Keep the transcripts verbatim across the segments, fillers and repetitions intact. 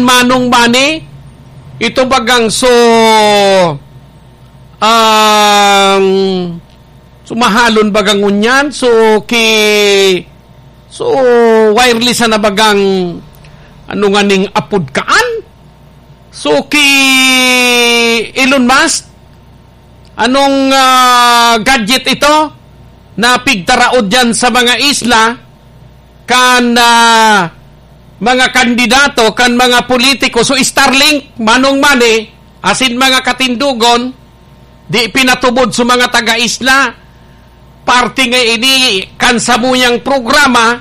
Manong Manny, ito bagang so, um, so mahalon bagang ngunyan, so ki-, so wireless na bagang ano nga ning apod kaan? So ki Elon Musk, anong, ah, gadget ito na pigtaraod dyan sa mga isla kan, ah, mga kandidato, kan mga politiko? So Starlink, Manong Manny, asin mga katindogon, di pinatubod sa mga taga-isla. Parte nga ini kan samuyang programa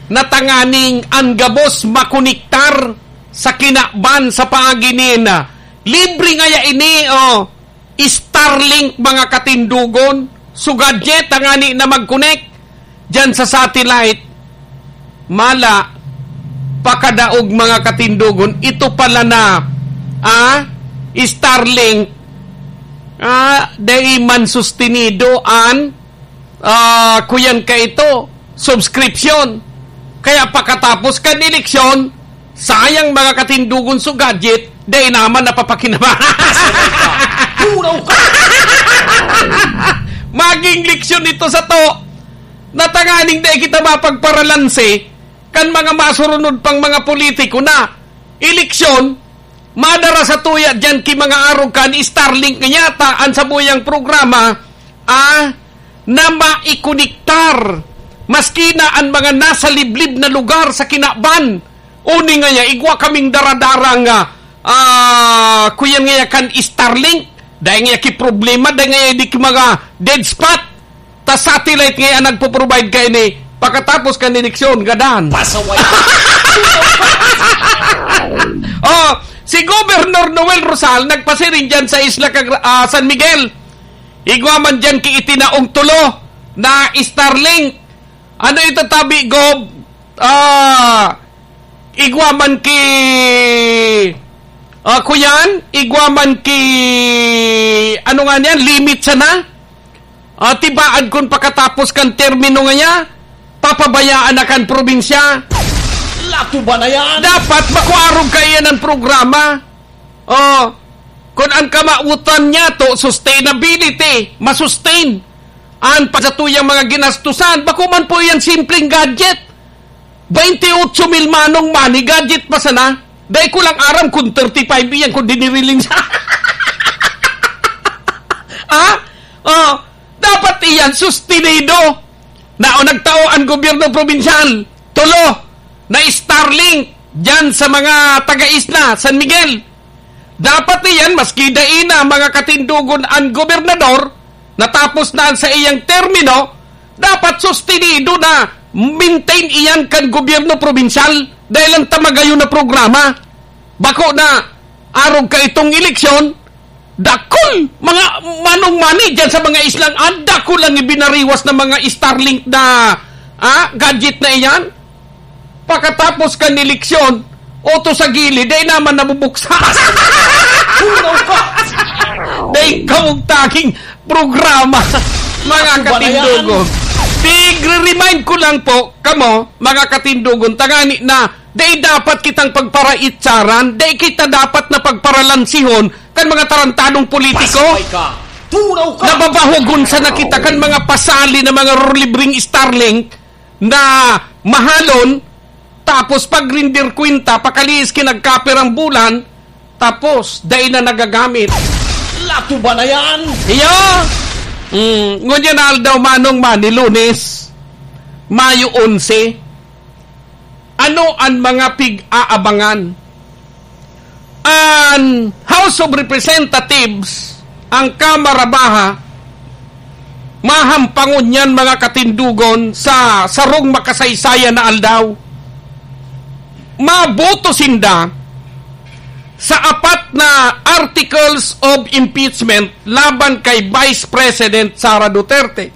na tanganing an gabos makonektar sa kinaban sa paagi nin, ah, libre ngaya ini, oh, Starlink, mga katindogon. So gadget tangani na mag-connect diyan sa satellite. Mala, pakadaog, mga katindogon. Ito pala na, ah, Starlink, ah, dai man sustenido an, ah, kuyan ka ito, subscription. Kaya pakatapos kan eleksyon, sayang, mga katindogon, so gadget, dai naman napapakinabangan. Turaw ka! Maging leksyon ito sa to, na tanganing dai kita mapagparalanse kan mga masurunod pang mga politiko na eleksyon, madara sa tuya diyan ki mga arog kan Starlink nga yata an samuyang programa, ah, na maikonektar maski na an mga nasa liblib na lugar sa kinaban. Uni ngaya, igwa kaming daradarang, ah, ah, kuyan ngaya kan Starlink. Dai ngaya ki problema, dai ngaya di ki mga dead spot. Ta satellite ngaya nagpo-provide kaini pakatapos kan eleksyon, gadan. Pasaway. Oh, si Governor Noel Rosal nagpasiring diyan sa Isla Cagra-, ah, San Miguel. Igwa man diyan ki itinaong tulo na Starlink. Ano ito, tabi, Gov? Ah, igwa man ki, ah, kuyan, igwa man ki, ano nga niyan, limit sana? Ah, tibaan kun pakatapos kan termino ngaya, papabayaan na kan probinsya. Lato ba na yan? Dapat bako arog kaiyan ang programa. Oh, kun ang kamawotan niya to, sustainability, masustain an pa sa tuyang mga ginastusan, bako man po yan simpleng gadget. Baynte otso mil, Manong Manny, gadget pa sana. Dai ko lang aram kung thirty-five iyan kung diniriling sa Ah? Oh, dapat iyan sustenido. Na o nagtao ang gobyerno probinsyal, tulo na Starlink diyan sa mga taga-isla, San Miguel. Dapat iyan, maski dai na mga katindogon an gobernador, natapos na an sa iyang termino, dapat sustenido na maintain iyan kan gobyerno probinsyal dahil ang tamagayon na programa. Bako na arog ka itong eleksyon, dakul, mga Manong Manny, dyan sa mga islang, ang dakul ang ibinariwas ng mga Starlink na, ah, gadget na iyan. Pakatapos kan eleksyon, oto sa gilid, dai naman nabubuksan. Dai kawog taging programa, mga Ano ba na yan? katindogon. Tig-remind ko lang po, kamo, mga katindogon, tangani na, dai dapat kitang pagparaitsaran, dai kita dapat na pagparalansihon kan mga tarantadong politiko Pasaway ka. Turaw ka. Nababahogon sana kita kan mga pasali na mga libreng Starlink na mahalon, tapos pagrindir kwenta, pakalihis ki nagkapirang bulan, tapos dai na nagagamit. Lato ba na yan? Iyo! Mm, ngunyan na aldaw, Manong Manny, Lunes, Mayo onse. Ano an mga pig-aabangan? An House of Representatives, ang Kamara Baha, mahampangon niyan, mga katindogon, sa sarong makasaysayan na aldaw. Maboto sinda sa apat na articles of impeachment laban kay Vice President Sara Duterte.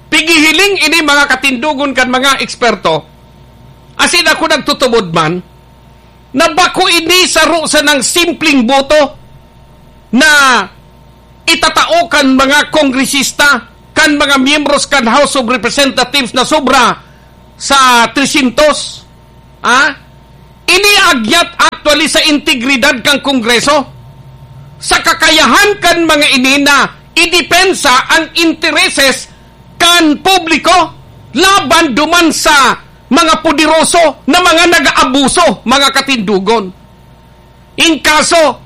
Pigihiling ini, mga katindogon, kan mga eksperto, asin ako nagtutubod man, na bako ini saro sanang simpleng boto na itatao kan mga kongresista, kan mga miyembros kan House of Representatives na sobra sa tresyentos. Ah? Ini agyat Actually, sa integridad kan Kongreso, sa kakayahan kan mga ini na idepensa ang intereses kan publiko laban duman sa mga poderoso na mga nag-aabuso, mga katindogon. In kaso,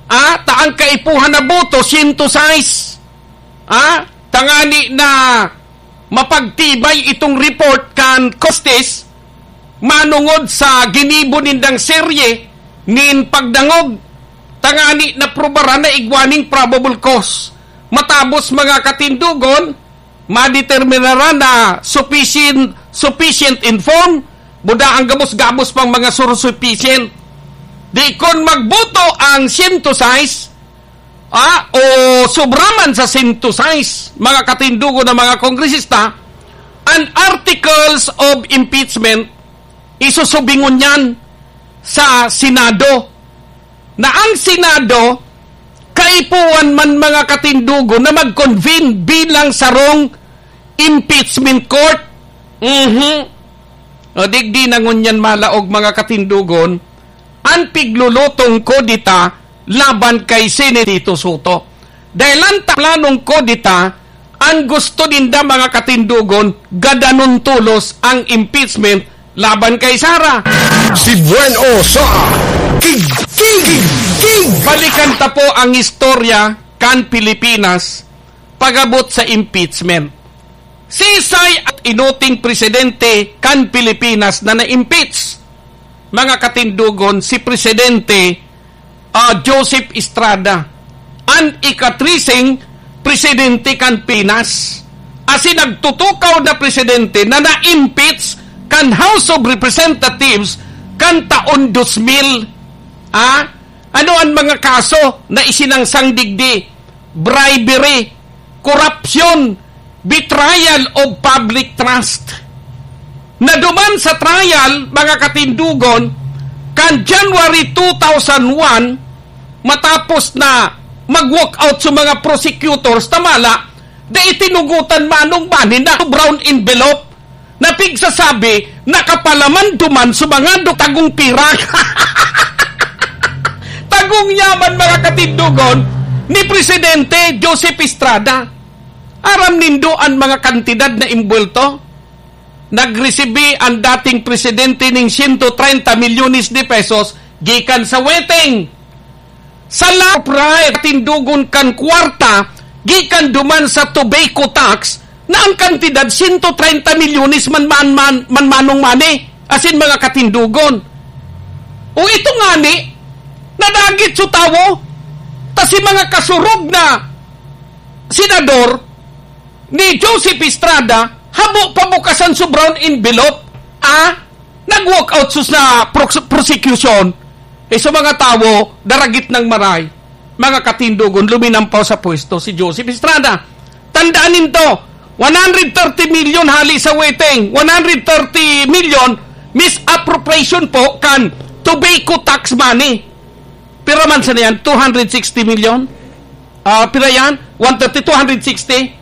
ah, ta ang kaipuhan na boto, siyento sais, ah, tangani na mapagtibay itong report kan Costes, manongod sa ginibo nindang serye nin pagdangog, tangani na prubaran na igwa ning probable cause. Matabos, mga katindogon, madeterminaran na sufficient, sufficient in form, buda ang gabos-gabos pang mga sursufficient. Di kon magboto ang siyento sais, ah, o sobra man sa siyento sais, mga katindogon na mga kongresista, an articles of impeachment, isusubingon yan sa Senado. Na ang Senado, kaipuhan man, mga katindogon, na mag-convene bilang sarong impeachment court. Mhm. O, digdi na ngunyan malaog, mga katindogon, an piglulutong kudeta laban kay Senador Tito Sotto. Dahil an ta-, planong kudeta, an gusto ninda, mga katindogon, gadanon tolos ang impeachment laban kay Sara. Si Buen O sa Tig, Tig, Tig. Balikan ta po ang istorya kan Pilipinas pag-abot sa impeachment. Sisay at inuting presidente kan Pilipinas na na-impeach? Mga katindogon, si Presidente, ah, Joseph Estrada, an ikatriseng presidente kan Pinas, asin nagtutukaw na presidente na na-impeach kan House of Representatives kan taon dos mil. Ah, ano an mga kaso na isinangsang digdi? Bribery, korupsyon, betrayal of public trust. Naduman sa trial, mga katindogon, kan January two thousand one, matapos na mag-walk out sa mga prosecutors, tamala, da itinugutan manong mani na brown envelope na pigsasabi, nakapalaman duman sa mga do-, tagong pirak. Tagong yaman, mga katindogon, ni Presidente Joseph Estrada. Aram nindo an mga kantidad na imbuwelto? Nagresibi an dating presidente ning siyento treinta milyones de pesos gikan sa weteng. Sa la-, katindogon, kan kwarta gikan duman sa tobacco tax na ang kantidad siyento treinta milyones man, man, man, man manong mani, asin mga katindogon. O ito ngani, nadagit sa tawo, ta si mga kasurog na senador ni Joseph Estrada, habo pabukasan sa brown envelope, ah, nag-walk out sus na prox-, prosecution. Eh, sa mga tawo, daragit ng maray, mga katindogon, luminampaw sa pwesto si Joseph Estrada. Tandaan ninto, one hundred thirty million hali sa weteng, one hundred thirty million misappropriation po kan tobacco tax money. Pira man sa niyan? Two hundred sixty million? Ah, pira yan? One thirty, two hundred sixty?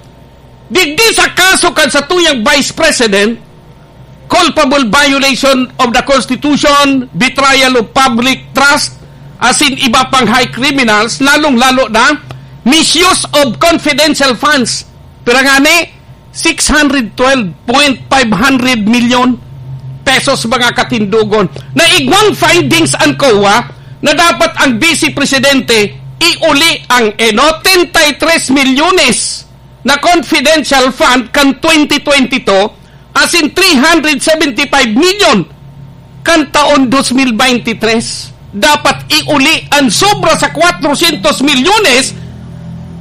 Digdi sa kaso kan satuyang Vice President, culpable violation of the Constitution, betrayal of public trust, asin iba pang high criminals, lalong-lalo na misuse of confidential funds. Pira ngani? Six hundred twelve point five hundred million pesos, mga katindogon. Na igwang findings an COA na dapat ang Vice Presidente iuli ang, eh, no, treinta y tres milyones na confidential fund kan twenty twenty-two, asin three hundred seventy-five million kan taon dos mil beintitres. Dapat iuli an sobra sa kwatrosyentos milyones,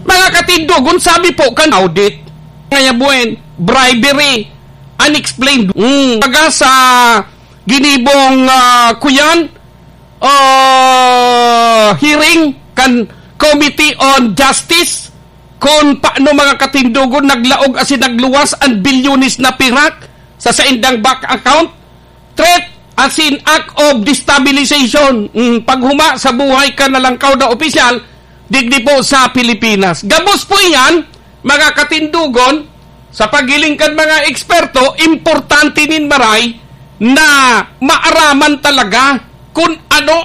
mga katindogon, sabi po kan audit. Kaya buen, bribery, unexplained. Mm. Taga sa ginibong, ah, kuyan, ah, hearing kan Committee on Justice, kun paano, mga katindogon, naglaog asin nagluwas an bilyones na pirak sa saindang bank account, threat asin act of destabilization. Mm, paghuma sa buhay kan nalangkaw na opisyal digdi po sa Pilipinas. Gabos po iyan, mga katindogon, sa paghiling kan mga eksperto, importante nin maray na maaraman talaga kun ano